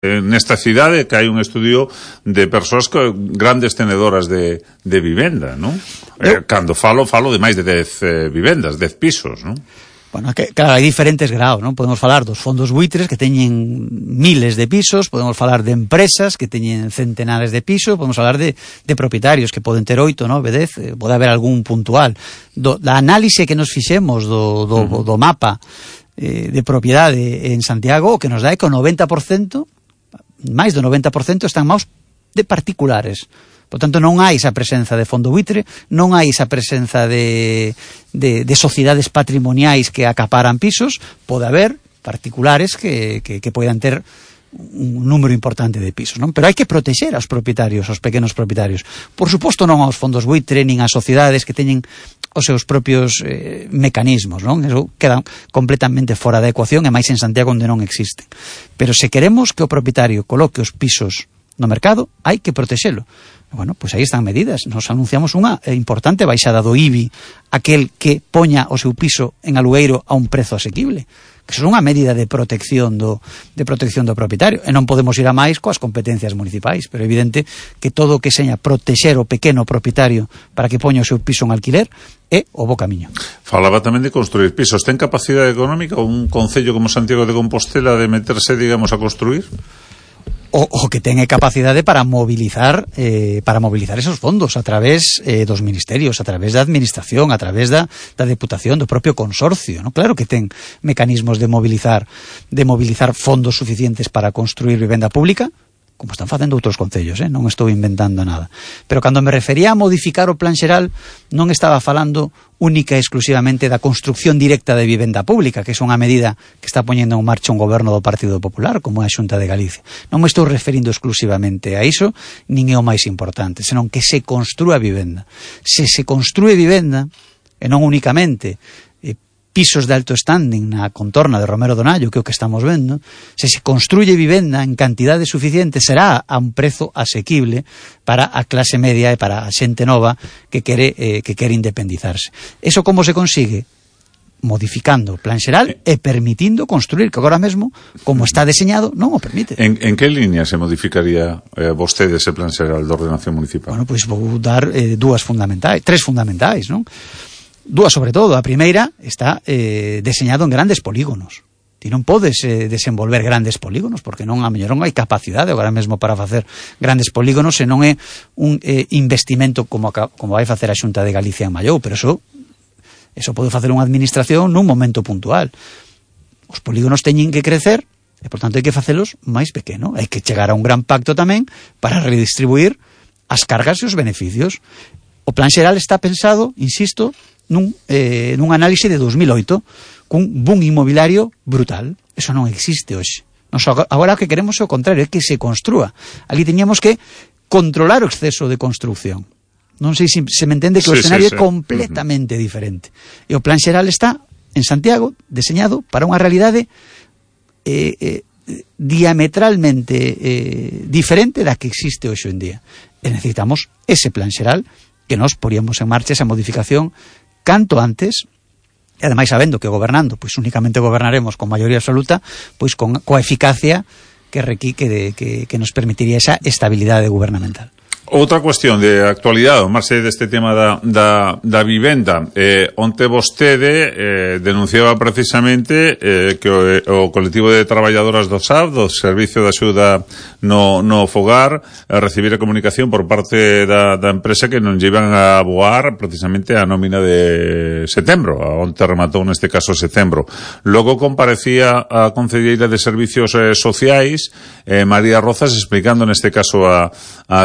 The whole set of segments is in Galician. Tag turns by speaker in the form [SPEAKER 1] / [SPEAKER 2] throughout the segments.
[SPEAKER 1] nesta cidade que hai un estudio de persoas grandes tenedoras de vivenda, non? Cando falo de máis de 10 vivendas, 10 pisos, non?
[SPEAKER 2] Bueno, claro, hai diferentes graus, non? Podemos falar dos fondos buitres que teñen miles de pisos, podemos falar de empresas que teñen centenares de pisos, podemos falar de propietarios que poden ter 8, 9, 10, pode haber algún puntual. Da análise que nos fixemos do mapa de propiedade en Santiago, o que nos dá é que o 90%, máis do 90% están máis de particulares. Por tanto, non hai esa presenza de fondo buitre, non hai esa presenza de sociedades patrimoniais que acaparan pisos. Pode haber particulares que poidan ter un número importante de pisos, non? Pero hai que protexer aos propietarios, aos pequenos propietarios. Por suposto, non aos fondos buitre, nin ás sociedades que teñen os seus propios mecanismos, non? Eso queda completamente fora da ecuación, e máis en Santiago onde non existen. Pero se queremos que o propietario coloque os pisos no mercado, hai que protexelo. Bueno, pois aí están medidas. Nos anunciamos unha importante baixada do IBI, aquel que poña o seu piso en alugueiro a un prezo asequible. Que eso é unha medida de protección do propietario. E non podemos ir a máis coas competencias municipais, pero é evidente que todo o que seña protexer o pequeno propietario para que poña o seu piso en alquiler é o bo camiño.
[SPEAKER 1] Falaba tamén de construir pisos. Ten capacidade económica un concello como Santiago de Compostela de meterse, digamos, a construir?
[SPEAKER 2] O que ten capacidade para mobilizar esos fondos a través dos ministerios, a través da administración, a través da deputación, do propio consorcio, ¿no? Claro que ten mecanismos de mobilizar fondos suficientes para construir vivenda pública, como están facendo outros concellos, non estou inventando nada. Pero cando me refería a modificar o plan xeral, non estaba falando única e exclusivamente da construcción directa de vivenda pública, que é unha medida que está poñendo en marcha un goberno do Partido Popular, como a Xunta de Galicia. Non me estou referindo exclusivamente a iso, nin é o máis importante, senón que se construa vivenda. Se construe vivenda, e non únicamente pisos de alto standing na contorna de Romero Donallo, que é o que estamos vendo, se construye vivenda en cantidade suficiente, será a un prezo asequible para a clase media e para a xente nova que quere independizarse. Eso como se consigue? Modificando o plan xeral e permitindo construir, que agora mesmo, como está deseñado, non o permite.
[SPEAKER 1] En que línea se modificaría vostede ese plan xeral de ordenación municipal?
[SPEAKER 2] Bueno, pois vou dar tres fundamentais, non? Dúas sobre todo. A primeira está deseñado en grandes polígonos. Ti non podes desenvolver grandes polígonos porque non hai capacidade agora mesmo para facer grandes polígonos, se non é un investimento como vai facer a Xunta de Galicia en Mallou, pero eso pode facer unha administración nun momento puntual. Os polígonos teñen que crecer e, por tanto, hai que facelos máis pequeno. Hai que chegar a un gran pacto tamén para redistribuir as cargas e os beneficios. O plan xeral está pensado, insisto, nun análise de 2008 cun boom inmobiliario brutal. Eso non existe hoxe. Agora o que queremos é o contrario, é que se construa. Ali teñamos que controlar o exceso de construcción. Non sei se me entende que o escenario é completamente diferente. E o plan xeral está en Santiago deseñado para unha realidade diametralmente diferente da que existe hoxe en día. E necesitamos ese plan xeral que nos poríamos en marcha esa modificación canto antes, e ademais sabendo que gobernando, pois únicamente gobernaremos con maioría absoluta, pois coa eficacia que nos permitiría esa estabilidade gubernamental.
[SPEAKER 1] Outra cuestión de actualidade, o marxe deste tema da vivenda, onte vostede denunciaba precisamente que o colectivo de traballadoras do SAF, do Servicio de Axuda no Fogar, recibira comunicación por parte da empresa que non llevan a aboar precisamente a nómina de setembro, onte rematou neste caso setembro. Logo comparecía a concelleira de Servicios Sociais, María Rozas, explicando neste caso a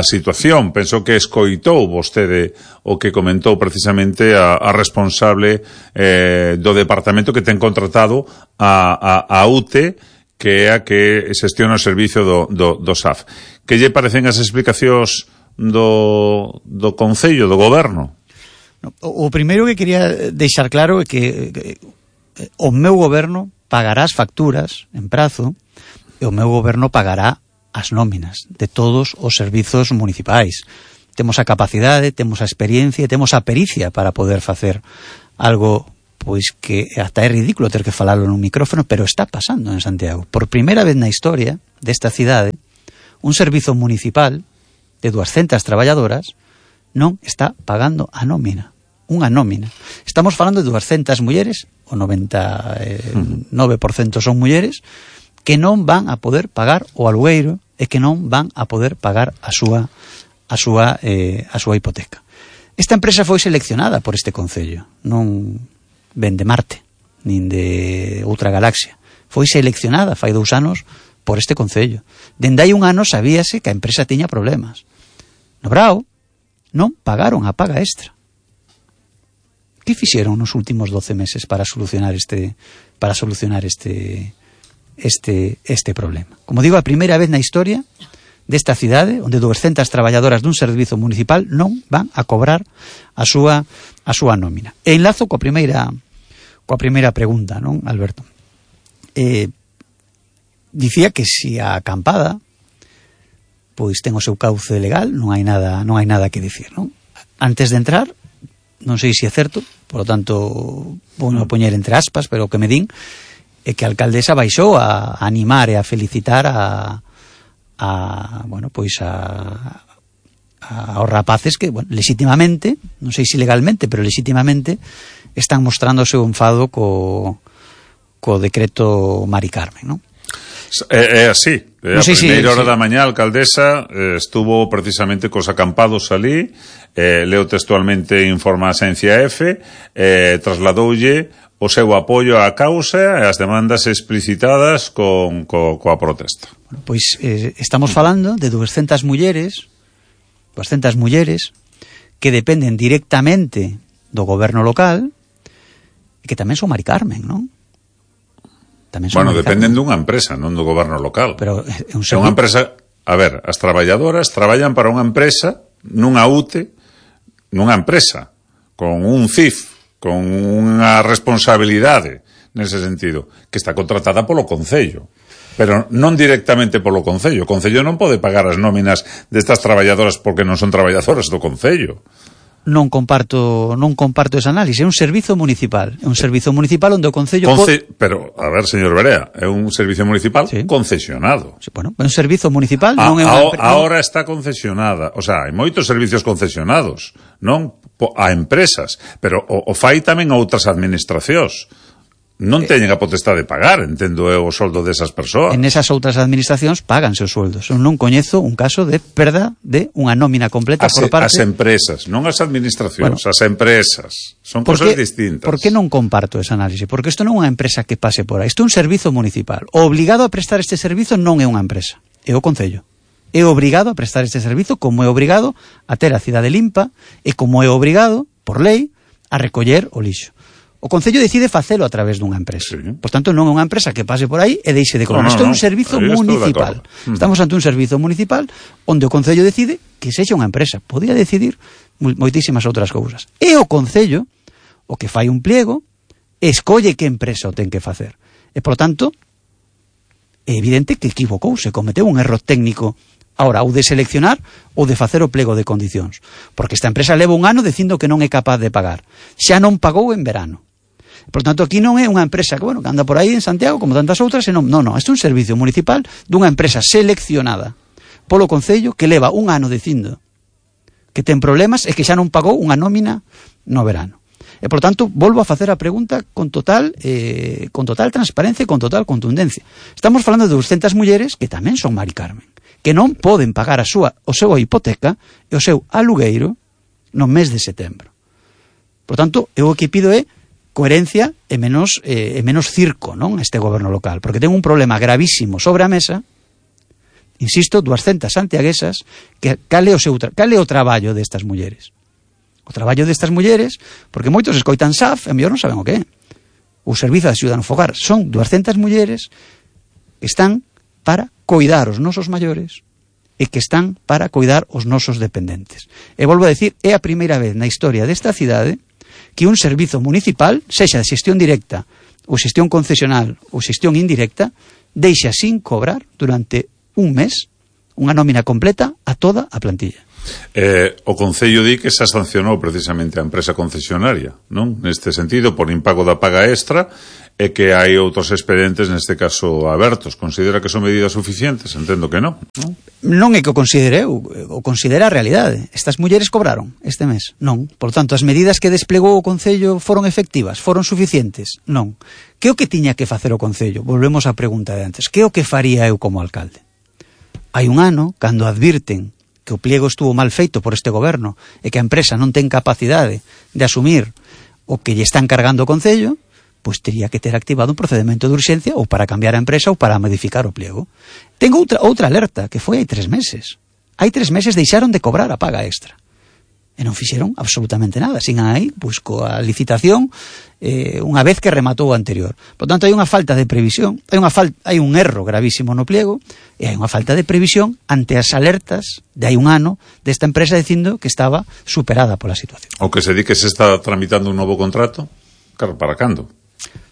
[SPEAKER 1] situación. Penso que escoitou vostede o que comentou precisamente a responsable do departamento que ten contratado a UTE, que é a que xestiona o servicio do SAF. Que lle parecen as explicacións do Concello, do Goberno?
[SPEAKER 2] O primeiro que quería deixar claro é que o meu goberno pagará as facturas en prazo e o meu goberno pagará as nóminas de todos os servizos municipais. Temos a capacidade, temos a experiencia e temos a pericia para poder facer algo pois que ata é ridículo ter que falalo nun micrófono, pero está pasando en Santiago. Por primeira vez na historia desta cidade, un servizo municipal de 200 traballadoras non está pagando a nómina. Unha nómina. Estamos falando de 200 mulleres, o 99% son mulleres, que non van a poder pagar o alugueiro e que non van a poder pagar a súa hipoteca. Esta empresa foi seleccionada por este concello, non ven de Marte, nin de outra galaxia. Foi seleccionada fai 2 anos por este concello. Dende hai 1 ano sabíase que a empresa tiña problemas. No Brao non pagaron a paga extra. Que fixeron nos últimos 12 meses para solucionar este problema? Como digo, a primeira vez na historia desta cidade onde 200 traballadoras dun servizo municipal non van a cobrar a súa nómina. E enlazo coa primeira pregunta, non, Alberto? Dicía que se a acampada pois ten o seu cauce legal, non hai nada que dicir, non? Antes de entrar, non sei se é certo, por lo tanto vou poñer entre aspas, pero o que me din é que a alcaldesa baixou a animar e a felicitar aos rapaces que, bueno, legítimamente, non sei se legalmente, pero legítimamente están mostrando o seu enfado co decreto Mari Carmen, non?
[SPEAKER 1] É así.
[SPEAKER 2] A
[SPEAKER 1] primeira hora da mañá a alcaldesa estuvo precisamente cos acampados ali, leo textualmente informa a Asencia F, trasladoulle o seu apoio á causa e as demandas explicitadas coa protesta.
[SPEAKER 2] Bueno, pois estamos falando de 200 mulleres que dependen directamente do goberno local e que tamén son Mari Carmen, non?
[SPEAKER 1] Bueno, dependen dunha empresa, non do goberno local.
[SPEAKER 2] Pero é
[SPEAKER 1] unha empresa... A ver, as traballadoras traballan para unha empresa, nunha UTE, nunha empresa, con un CIF, con unha responsabilidade, nese sentido, que está contratada polo Concello. Pero non directamente polo Concello. O Concello non pode pagar as nóminas destas traballadoras porque non son traballadoras do Concello.
[SPEAKER 2] Non comparto esa análise. É un servizo municipal. É un servizo municipal onde o Concello...
[SPEAKER 1] Pero, a ver, señor Berea, é un servizo municipal concesionado.
[SPEAKER 2] Sí, bueno, é un servizo municipal, non é unha...
[SPEAKER 1] Ahora está concesionada. O sea, hai moitos servicios concesionados, non? A empresas. Pero o fai tamén a outras administracións. Non teñen a potestade de pagar, entendo eu, o soldo desas persoas.
[SPEAKER 2] En esas outras administracións pagan seus sueldos. Eu non coñezo un caso de perda de unha nómina completa por parte...
[SPEAKER 1] As empresas, non as administracións, as empresas. Son cosas distintas.
[SPEAKER 2] Por que non comparto esa análise? Porque isto non é unha empresa que pase por aí. Isto é un servizo municipal. O obligado a prestar este servizo non é unha empresa, é o Concello. É obrigado a prestar este servizo, como é obrigado a ter a cidade limpa e como é obrigado, por lei, a recoller o lixo. O Concello decide facelo a través dunha empresa. Sí. Por tanto, non é unha empresa que pase por aí e deixe de cobrar. Isto é un servizo municipal. Estamos ante un servizo municipal onde o Concello decide que sexa unha empresa. Podía decidir moitísimas outras cousas. E o Concello, o que fai un pliego, escolle que empresa o ten que facer. E, por tanto, é evidente que equivocouse, cometeu un erro técnico ahora, ou de seleccionar ou de facer o plego de condicións. Porque esta empresa leva 1 ano dicindo que non é capaz de pagar. Xa non pagou en verano. Por tanto, aquí non é unha empresa que anda por aí en Santiago, como tantas outras, non, isto é un servicio municipal dunha empresa seleccionada polo Concello que leva 1 ano dicindo que ten problemas e que xa non pagou unha nómina no verano. E, por tanto, volvo a facer a pregunta con total transparencia e con total contundencia. Estamos falando de 200 mulleres que tamén son Mari Carmen, que non poden pagar o seu hipoteca e o seu alugueiro no mes de setembro. Por tanto, eu o que pido é coherencia e menos circo, non, este goberno local, porque ten un problema gravísimo sobre a mesa, insisto, 200 santiaguesas, que cale o traballo destas mulleres. O traballo destas mulleres, porque moitos escoitan SAF e mellor non saben o que é. O Servizo de Axuda no Fogar son 200 mulleres que están para coidar os nosos maiores e que están para coidar os nosos dependentes. E volvo a decir, é a primeira vez na historia desta cidade que un servizo municipal, sexa de xestión directa ou xestión concesional ou xestión indirecta, deixa sin cobrar durante un mes unha nómina completa a toda a plantilla.
[SPEAKER 1] O Concello di que xa sancionou precisamente a empresa concesionaria, non? Neste sentido, por impago da paga extra, e que hai outros expedientes, neste caso, abertos. Considera que son medidas suficientes? Entendo que non.
[SPEAKER 2] Non é que o considere eu, o considera a realidade. Estas mulleres cobraron este mes? Non. Por tanto, as medidas que desplegou o Concello foron efectivas? Foron suficientes? Non. Que o que tiña que facer o Concello? Volvemos á pregunta de antes. Que o que faría eu como alcalde? Hai un ano, cando advirten que o pliego estuvo mal feito por este goberno e que a empresa non ten capacidade de asumir o que lle están cargando o Concello, pois teria que ter activado un procedimento de urxencia ou para cambiar a empresa ou para modificar o pliego. Tengo outra alerta, que foi hai 3 meses. Hai 3 meses deixaron de cobrar a paga extra. E non fixeron absolutamente nada. Sigan aí, pois, coa licitación, unha vez que rematou o anterior. Por tanto, hai unha falta de previsión, hai un erro gravísimo no pliego, e hai unha falta de previsión ante as alertas de hai un ano desta empresa dicindo que estaba superada pola situación.
[SPEAKER 1] O que se di que se está tramitando un novo contrato, claro, para cando?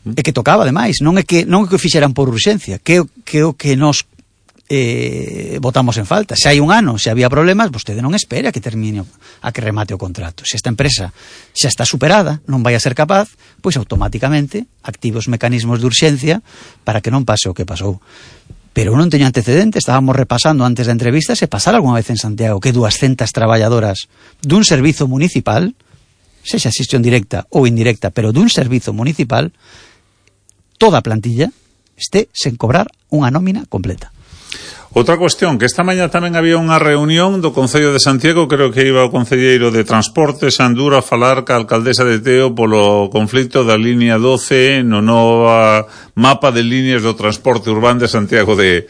[SPEAKER 2] É que tocaba, ademais, non é que o fixeran por urxencia, que o que nos votamos en falta. Se hai un ano, se había problemas, vostede non espera que termine, a que remate o contrato. Se esta empresa xa está superada, non vai a ser capaz, pois automáticamente active os mecanismos de urxencia para que non pase o que pasou. Pero eu non teño antecedentes, estábamos repasando antes da entrevista se pasara algunha vez en Santiago que 200 traballadoras dun servizo municipal, sexa xestión directa ou indirecta, pero dun servizo municipal, toda a plantilla este sen cobrar unha nómina completa.
[SPEAKER 1] Outra cuestión, que esta mañá tamén había unha reunión do Concello de Santiago, creo que iba o concelleiro de Transportes, Anduro, a falar ca alcaldesa de Teo polo conflicto da línea 12 no nova mapa de líneas do transporte urbano de Santiago de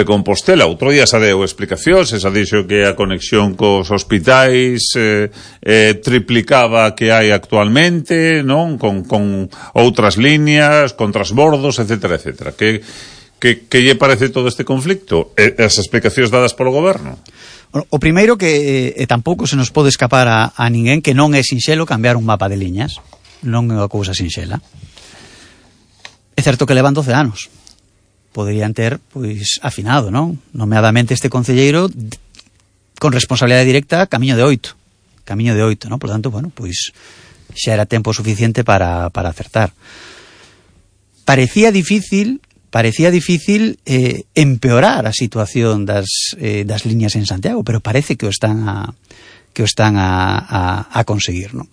[SPEAKER 1] Compostela. Outro día xa deu explicacións, xa dixo que a conexión cos hospitais triplicaba que hai actualmente, non? Con outras líneas, con transbordos, etcétera, etcétera. Que lle parece todo este conflicto? As explicacións dadas polo goberno?
[SPEAKER 2] O primeiro que tampouco se nos pode escapar a ninguén que non é sinxelo cambiar un mapa de liñas. Non é unha cousa sinxela. É certo que levan 12 anos. Poderían ter, pois, afinado, non? Nomeadamente este concelleiro con responsabilidade directa camiño de 8, non? Por tanto, bueno, pois xa era tempo suficiente para acertar. Parecía difícil empeorar a situación das liñas en Santiago, pero parece que o están a conseguir, non?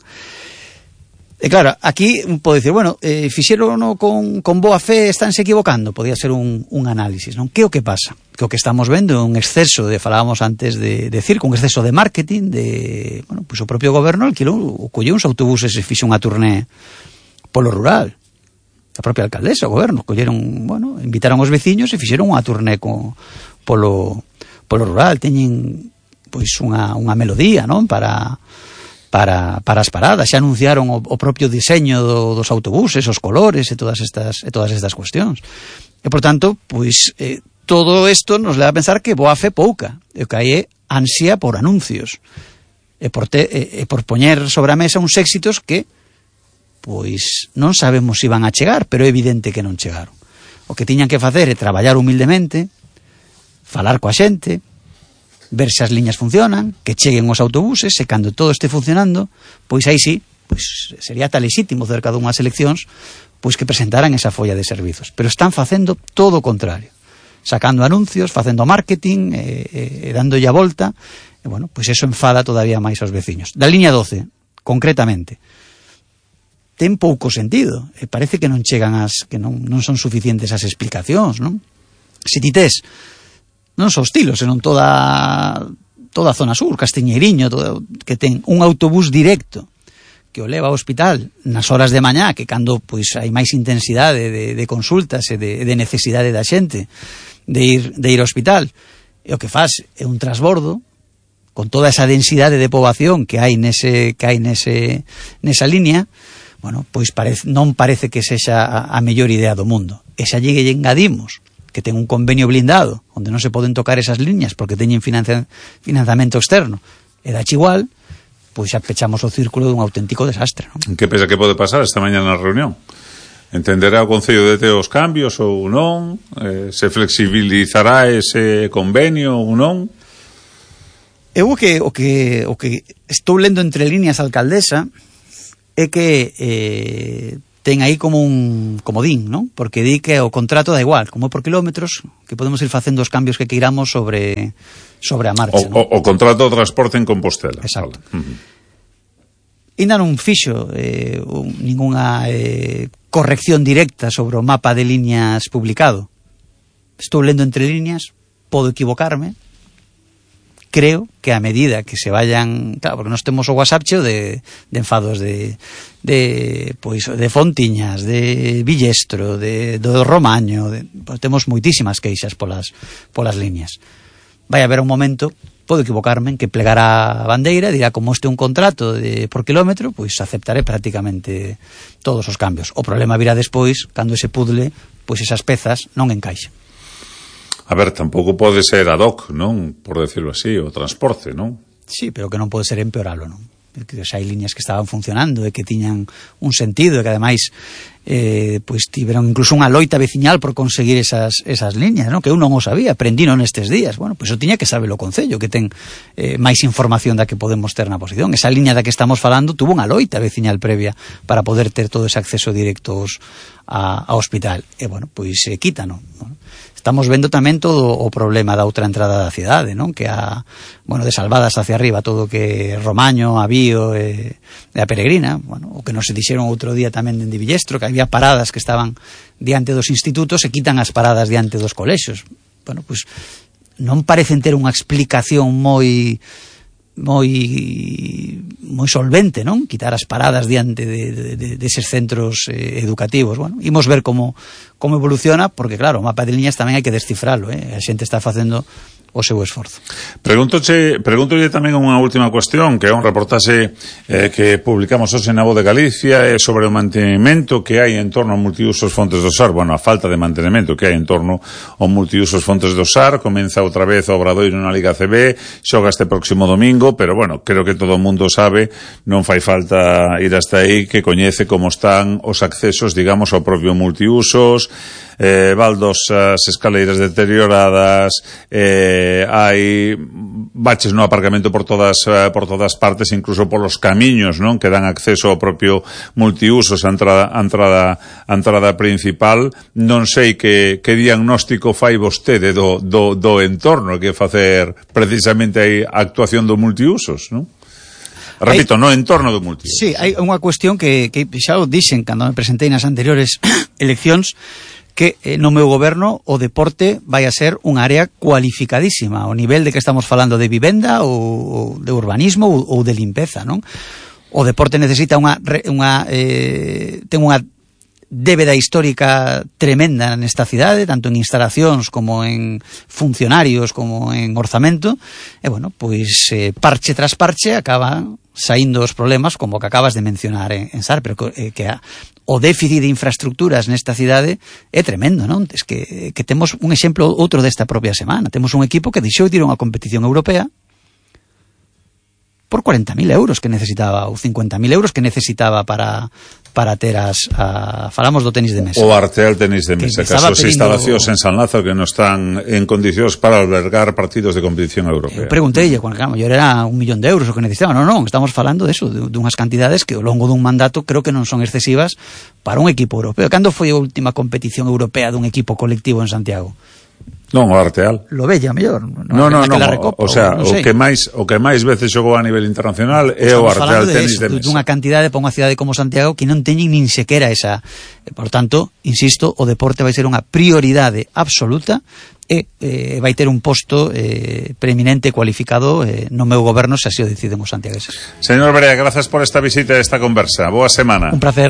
[SPEAKER 2] E claro, aquí pode dicir, bueno, fixerono con boa fe, estánse equivocando, podía ser un análisis, non? Que o que pasa? Que o que estamos vendo é un exceso falábamos antes de circo, un exceso de marketing, bueno, pois o propio goberno colleu uns autobuses e fixo unha turné polo rural. A propia alcaldesa, o goberno, invitaron os veciños e fixeron unha turné polo rural. Teñen pois unha melodía, non? Para as paradas. Xa anunciaron o propio diseño dos autobuses, os colores e todas estas cuestións. E, por tanto, pois todo isto nos leva a pensar que boa fe pouca. E o que hai é ansia por anuncios. E por poñer sobre a mesa uns éxitos que pois non sabemos se iban a chegar, pero é evidente que non chegaron. O que tiñan que facer é traballar humildemente, falar coa xente, ver se as liñas funcionan, que cheguen os autobuses, e cando todo este funcionando, pois aí sí, pois sería tan lexítimo cerca dunhas eleccións, pois que presentaran esa folla de servizos. Pero están facendo todo o contrario, sacando anuncios, facendo marketing, dándolle a volta, e bueno, pois eso enfada todavía máis aos veciños. Da liña 12, concretamente, ten pouco sentido, e parece que non chegan que non son suficientes as explicacións, non? Se ti tes non só estilo, senón toda a zona sur, Castiñeiriño, que ten un autobús directo que o leva ao hospital nas horas de mañá, que cando pois hai máis intensidade de consultas e de necesidade da xente de ir ao hospital, e o que faz é un transbordo con toda esa densidade de poboación que hai nesa línea. Bueno, pois non parece que sexa a mellor idea do mundo. E xa lle engadimos que ten un convenio blindado onde non se poden tocar esas liñas porque teñen financiamento externo e dache igual, pois xa pechamos o círculo dun auténtico desastre, non?
[SPEAKER 1] Que pensa que pode pasar esta mañá na reunión? Entenderá o Concello de Teo os cambios ou non? Se flexibilizará ese convenio ou non?
[SPEAKER 2] Eu o que estou lendo entre líneas, alcaldesa, é que ten aí como un comodín, non? Porque di que o contrato da igual, como por kilómetros, que podemos ir facendo os cambios que queiramos sobre a marcha.
[SPEAKER 1] O contrato de transporte en Compostela.
[SPEAKER 2] Exacto. Ainda non fixo ninguna corrección directa sobre o mapa de líneas publicado. Estou lendo entre líneas, podo equivocarme. Creo que a medida que se vayan, claro, porque nós temos o WhatsApp cheo de enfados de Fontiñas, de Villestro, do Romaño, pues temos moitísimas queixas polas líneas. Vai haber un momento, podo equivocarme, en que plegará a bandeira, dirá, como este é un contrato por kilómetro, pois aceptaré prácticamente todos os cambios. O problema virá despois, cando ese puzzle, pois esas pezas non encaixan.
[SPEAKER 1] A ver, tampouco pode ser ad hoc, non? Por decirlo así, o transporte, non?
[SPEAKER 2] Sí, pero que non pode ser empeoralo, non? Que xa hai líneas que estaban funcionando e que tiñan un sentido e que ademais pois tiveron incluso unha loita veciñal por conseguir esas liñas, non? Que eu non o sabía, aprendino nestes días. Bueno, pois o tiña que saber o Concello, que ten máis información da que podemos ter na posición. Esa liña da que estamos falando tuvo unha loita veciñal previa para poder ter todo ese acceso directo ao hospital. E, bueno, pois quítano, non? Estamos vendo tamén todo o problema da outra entrada da cidade, non? Que de Salvadas hacia arriba, todo que Romaño, Avío e a Peregrina, o que nos se dixeron outro día tamén de Villestro, que había paradas que estaban diante dos institutos e quitan as paradas diante dos colexios. Bueno, pois non parecen ter unha explicación moi solvente, non? Quitar as paradas diante deses centros educativos. Bueno, imos ver como evoluciona, porque claro, o mapa de liñas tamén hai que descifralo, a xente está facendo o seu esforzo.
[SPEAKER 1] Pregúntolle tamén unha última cuestión, que é un reportaxe que publicamos hoxe na Voz de Galicia, sobre o mantenimento que hai en torno ao multiusos Fontes do Sar, a falta de mantenimento que hai en torno ao multiusos Fontes do Sar. Comeza outra vez o Obradoiro na Liga CB, xoga este próximo domingo, pero creo que todo o mundo sabe, non fai falta ir hasta aí, que coñece como están os accesos, digamos, ao propio multiusos, baldosas, escaleiras deterioradas, hai baches no aparcamento por todas partes, incluso polos camiños, non? Que dan acceso ao propio multiusos, a entrada principal. Non sei que diagnóstico fai vostede do entorno que facer precisamente a actuación do multiusos, non? Repito, no entorno do multiusos.
[SPEAKER 2] Sí, hai unha cuestión que xa o dixen cando me presentei nas anteriores eleccións, que no meu goberno o deporte vai a ser unha área cualificadísima, ao nivel de que estamos falando de vivenda ou de urbanismo ou de limpeza, non? O deporte necesita ten unha débeda histórica tremenda nesta cidade, tanto en instalacións como en funcionarios como en orzamento, e pois parche tras parche acaba saindo os problemas como que acabas de mencionar en Sar, pero que o déficit de infraestructuras nesta cidade é tremendo, non? Es que temos un exemplo outro desta propia semana. Temos un equipo que deixou de ir a unha competición europea por 40.000 euros que necesitaba, ou 50.000 euros que necesitaba para ter falamos do tenis de mesa.
[SPEAKER 1] O Arteal tenis de mesa, que as súas instalacións en San Lázaro que non están en condicións para albergar partidos de competición europea.
[SPEAKER 2] Preguntei, claro, mellor era 1 millón de euros o que necesitaba. Non, estamos falando de unhas cantidades que ao longo dun mandato creo que non son excesivas para un equipo europeo. Cando foi a última competición europea dun equipo colectivo en Santiago?
[SPEAKER 1] Non, o Arteal.
[SPEAKER 2] Lo Bella, mellor.
[SPEAKER 1] Non, o sea, o que máis veces xogou a nivel internacional é o Arteal tenis de mesa.
[SPEAKER 2] Dunha cantidade para unha cidade como Santiago que non teñen nin sequera esa. Por tanto, insisto, o deporte vai ser unha prioridade absoluta e vai ter un posto preeminente cualificado no meu goberno, se así o deciden os santiagueses.
[SPEAKER 1] Señor Barea, grazas por esta visita e esta conversa. Boa semana.
[SPEAKER 2] Un placer.